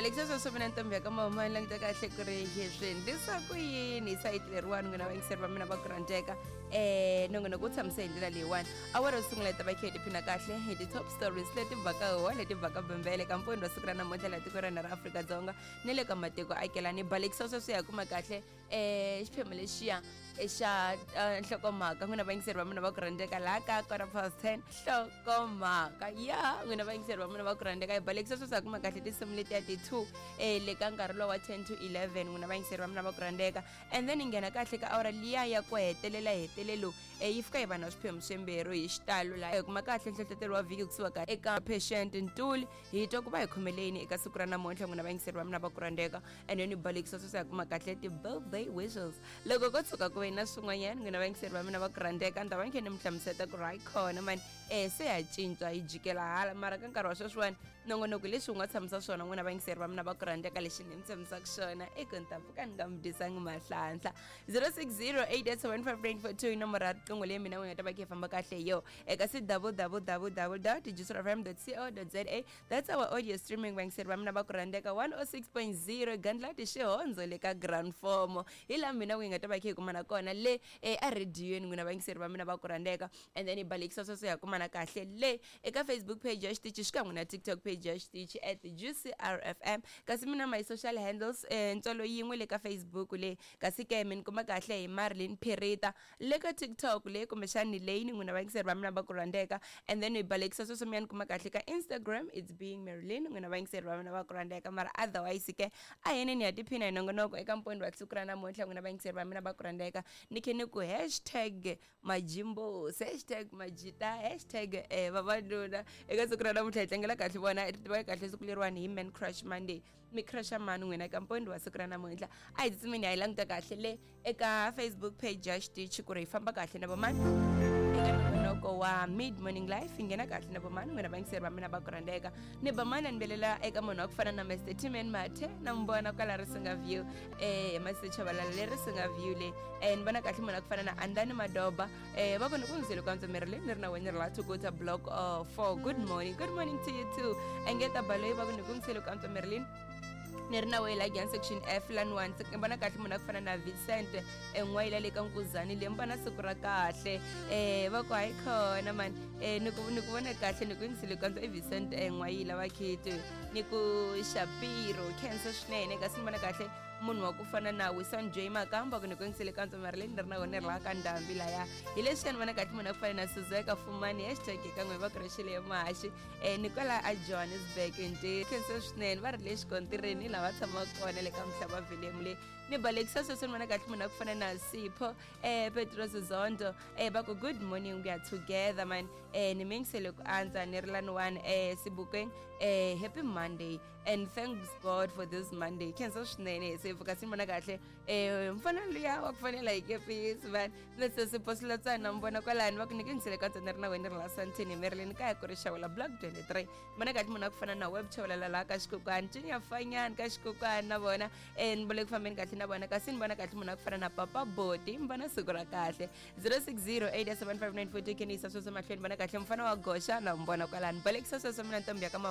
Balekisa sweswo mina ntombi ya ka mahuma ni languta kahle ku ri hi swi endlisa ku yini hi sayiti leriwani n'wina vayingiseri va mina va ku rhandzeka nongonoko wu tshamise hi ndlela leyiwani. Awara yo sungula yi ta va khe hi tiphina kahle hi ti-top stories leti baka huwa leti baka bembele ka mpfuni wa siku ra namuntlha laha tiko ra hina ra Afrika-Dzonga ni le ka matiko akelani. Balekisa sweswo ya kuma kahle xiphemu lexiya xa nhlokomhaka n'wina vayingiseri va mina va ku rhandzeka laha ka 10:15 nhlokomhaka ya n'wina vayingiseri va mina va ku rhandzeka. Hi balekisa sweswi ha kuma kahle tinsimu letiya ti-2 le ka nkarhi lowa wa 10 to 11 n'wina vayingiseri va mina va ku rhandzeka, and then hi nghena kahle ka awara liya ya ku hetelela hetelelo. Yi fika hi va na swiphemu swimbirhi hi xitalo laha hi kuma kahle nhlohlotelo wa vhiki kusuka eka Patient Ntuli. Hi twa ku va hi khomeleni eka siku ra namuntlha n'wina vayingiseri va mina va ku rhandzeka, and then hi balekisa sweswi hi kuma kahle ti-birthday wishes. Loko ko tshuka ku ve na swin'wanyana n'wina vayingiseri va mina va ku rhandzeka, ni ta va ni khe ni mi hlamuseta ku ri hayi khona mani se ya cinca hi jikela hala, mara ka nkarhi wa sweswiwani nongonoko leswi wu nga tshamisa swona n'wina vayingiseri va mina va ku rhandzeka. Lexi ni mi tshamisaka xona i ku ni ta pfuka ni nga mi dyisangi mahlanhla. 0608875942 i nomoro ya riqingho leyi mina n'wi nga ta va khe hi famba kahle hi yo eka si www.juicefm.co.za. That's our audio streaming. Vayingiseri va mina va ku rhandzeka, 106.0 gandlati xihondzo le ka Grand Formo hi laha mina n'wi nga ta va khe hi kumana kona le erediyweni n'wina vayingiseri va mina va ku rhandzeka. And then hi balekisa sweswo hi kumana kahle le eka Facebook page ya xitichi xikan'we na TikTok page ya xitichi at JuicyRFM. Kasi mina my social handles, ntswalo yin'we le ka Facebook le, kasi ke mi ni kuma kahle hi Marilyn Phirita le ka TikTok le kumbexani leyi ni n'wina vayingiseri va mina va ku rhandzeka. And then hi balekisa sweswo mi ya ni kuma kahle ka Instagram, it's Being Marilyn, n'wina vayingiseri va mina va ku rhandzeka. Mara otherwise ke a heneni ha tiphina hi nongonoko eka mpfuni wa siku ra namuntlha n'wina vayingiseri va mina va ku rhandzeka. Ni khe ni ku hashtag majimbos, hashtag majita, hashtag vavanuna eka siku ra namuntlha. Hi tlangela kahle vona, hi tiva kahle siku leriwani hi Man Crush Monday. Mi crusha mani n'wina eka mpfuni wa siku ra namuntlha? A hi tsutsumeni hi languta kahle le eka Facebook page ya xitichi ku ri hi famba kahle na vomani eka nongonoko wa Mid Morning Life. Hi nghena kahle na vomani n'wina vayingiseri va mina va ku rhandzeka? Ni ba mani ni belela eka munhu wa ku fana na Mr Timan Mathe, na n'wi vona kwala Risinga View, Mr Chabalala le Risinga View le. Ni vona kahle munhu wa ku fana na Andani Madoba, va kona ku ndzile kwanza miri le ni ri na wena ri la Thukuta block 4. Good morning, good morning to you too. Engeta Baloyi va ku ni ku ndzile kwanza Marilyn ni ri na wena la section F lani 1. Ni vona kahle munhu a ku fana na Vincent en'wayila le ka Nkuzani le, mi vona siku ra kahle. Va ku hayi khona mani, ni ku vona kahle ni ku yingisile kwanza i Vincent en'wayila va khiti ni ku Shapiro khensa swinene. Kasi ni vona kahle munhu wa ku fana na Wisan J Makamba ku ni ku yingisile kantswa mari leyi ni ri na wona ri la ka ndhambi laya hi leswiya. Ni vona kahle munhu a ku fana na Suzeka Fumani, hashtag kan'we va ku rexile mahaxi, ni kwala a Johannesburg nti khensa swinene. Va ri le xikontirini laha va tshamaka kona le ka Mhlava Vilemu le. Ni balekisa sweswo ni vona kahle munhu a ku fana na Sipho Petros Zondo, va ku good morning, we are together man. Ni mingisele ku andza ni ri lani one Sibukeng. Happy Monday and thanks God for this Monday. Khensa swinene se pfuka. Si ni vona kahle mfana luya wa ku fanela hi kepisi van Mr Sipho Silotsana, mi vona kwalani va ku nyike ngisele ka ntsena ri na wena ri la Santini Marilyn kaya ku ri Xawela block 23. Vona kahle munhu a ku fana na Web Chavalala laha ka Xikokwani Junior Fanyani ka Xikokwani na vona, ni vole ku fambeni kahle na vona. Kasi ni vona kahle munhu a ku fana na Papa Boti, mi vona siku ra kahle. 06087594 khenisa sweswo mahlweni. Vona kahle mfana wa goxa na mi vona kwalani. Balekisa sweswo mina ntombi ya ka mama.